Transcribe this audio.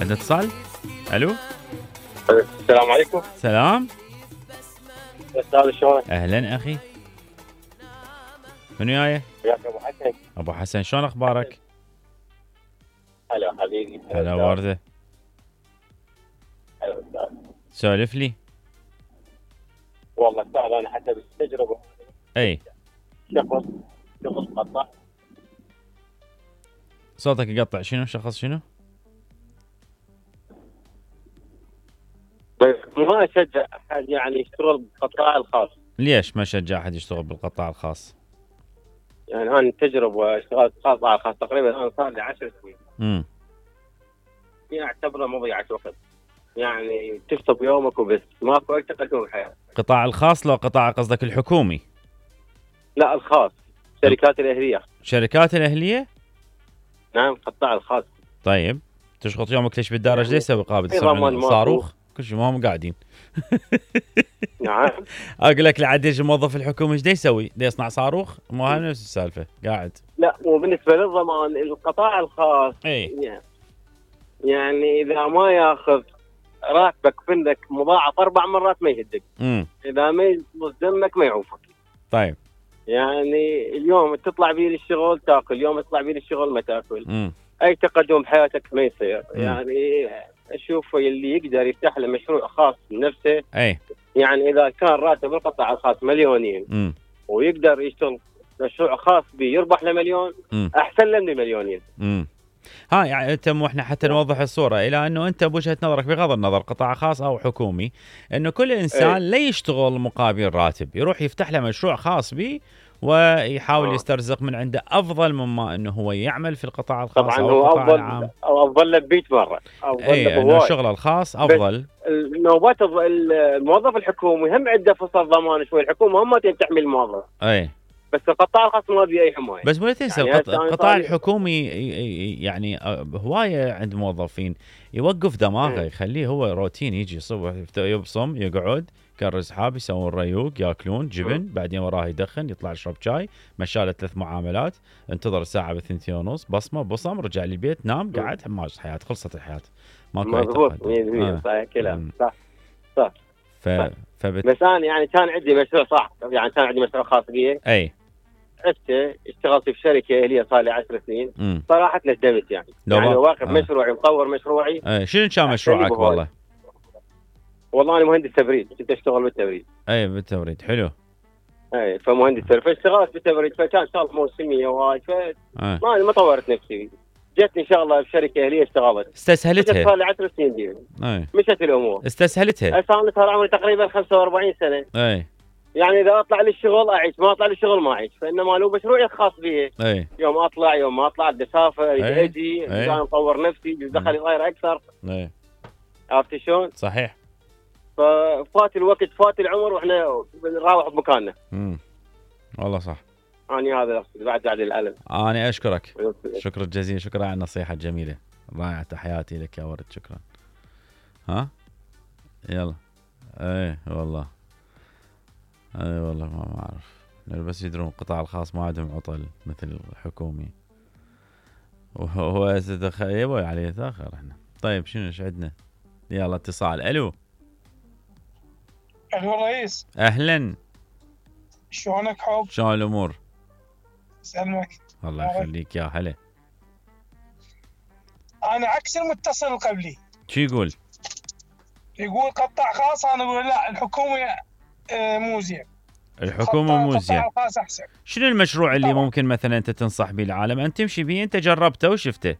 عندنا اتصال. الو السلام عليكم. سلام. استاذ شلونك؟ اهلا اخي. من وياي؟ وياك ابو حسن. ابو حسن شلون اخبارك؟ هلا حبيبي. هلا ورده. هلا استاذ. سولف لي. والله استاذ انا حسب التجربه اي شخص قطع. صوتك يقطع. شنو شخص شنو؟ بس ما اشجع احد يعني يشتغل بالقطاع الخاص. ليش ما شجع احد يشتغل بالقطاع الخاص؟ يعني انا التجربه اشتغلت قطاع خاص تقريبا الان صار لي 10 سنين. يعني اعتبره مضيعه وقت. يعني تشطب يومك وبس ماكو اي تقدم بالحياه. قطاع الخاص لو قطاع قصدك الحكومي؟ لا الخاص. شركات الاهليه. شركات الاهليه؟ نعم قطاع الخاص. طيب تشخط يومك ليش بالدار؟ ايش يسوي قابل ضمان صاروخ؟ كل شيء ما هم قاعدين. نعم. اقول لك لعد يجي الموظف الحكومي ايش يسوي؟ يصنع صاروخ؟ مو هاي نفس السالفه قاعد. لا وبالنسبه للضمان القطاع الخاص يعني اذا ما ياخذ راتبك منك مضاعف 4 مرات ما يهدك. اذا ما يصمص دمك ما يعوفك. طيب يعني اليوم تطلع بيه للشغل تاكل، اليوم تطلع بيه للشغل ما تاكل. اي تقدم بحياتك ما يصير. يعني اشوف اللي يقدر يفتح له مشروع خاص بنفسه. يعني اذا كان راتب القطاع الخاص مليونين ويقدر يشتغل مشروع خاص به يربح له مليون احسن له من مليونين. ها يعني انت احنا حتى نوضح الصوره الى انه انت بوجهه نظرك بغض النظر قطاع خاص او حكومي انه كل انسان لا يشتغل مقابل راتب، يروح يفتح له مشروع خاص به ويحاول يسترزق من عنده افضل مما انه هو يعمل في القطاع الخاص. طبعا أو هو القطاع افضل العام. او افضل له ب 100 مره. اي انه الشغل الخاص افضل. نوبات الموظف الحكومي هم عنده فرصه ضمان شوي. الحكومه هم تحمي الموظف. بس القطاع الخاص ما بيه اي حمايه. بس مو تنسى يعني القطاع الحكومي يعني هوايه عند موظفين يوقف دماغه يخليه هو روتين، يجي الصبح يبصم يقعد كرز حاب يسوون ريوق ياكلون جبن بعدين وراه يدخن يطلع يشرب شاي مشاله 3 معاملات انتظر الساعه ب2:30 بصمه بصم رجع للبيت نام قعد ماشي الحياه خلصت الحياه ماكو اي تقدم. صحيح كلام صح. بس انا يعني كان عندي مشروع يعني كان عندي مشروع خاص بي. اشتغلت في شركه هي صار لي 10 سنين. صراحه ندمت يعني واقف مشروعي مطور مشروعي. شنو كان مشروعك والله انا مهندس تبريد كنت اشتغل بالتبريد. بالتبريد حلو. فمهندس تبريد فاشتغلت بالتبريد فكان شغله موسميه وهاي ما طورت نفسي. جتني شغله بشركه اهليه اشتغلت استسهلتها. صار لي 10 سنين دي. مشت الامور استسهلتها. صار عمري تقريبا 45 سنه. يعني اذا اطلع للشغل اعيش ما اطلع للشغل ما اعيش. فانما لو مشروعي الخاص به يوم اطلع يوم ما اطلع بدي اسافر اجي عشان اطور نفسي دخلي صاير اكثر. عرفت شلون؟ صحيح. ففات الوقت فات العمر واحنا نراوح بمكاننا. والله صح. أنا هذا أقصد بعد الألم. أنا أشكرك شكرا جزيلا. شكرا على النصيحة الجميلة رائعة. تحياتي لك يا ورد. شكرا. يلا والله ما أعرف بس يدرون القطاع الخاص ما عندهم عطل مثل الحكومي وهو يبوي عليه تاخر احنا. طيب شنو ايش عندنا؟ يلا اتصال. الو رئيس. اهلا شلونك حب؟ شلون الامور؟ سلمك الله يخليك يا هلا. انا عكس المتصل القبلي. شو يقول قطاع خاص. انا اقول لا الحكومه مو زين. الحكومه مو زين. قطاع خاص احسن. شنو المشروع اللي ممكن مثلا انت تنصح به العالم؟ انت تمشي به انت جربته وشفته.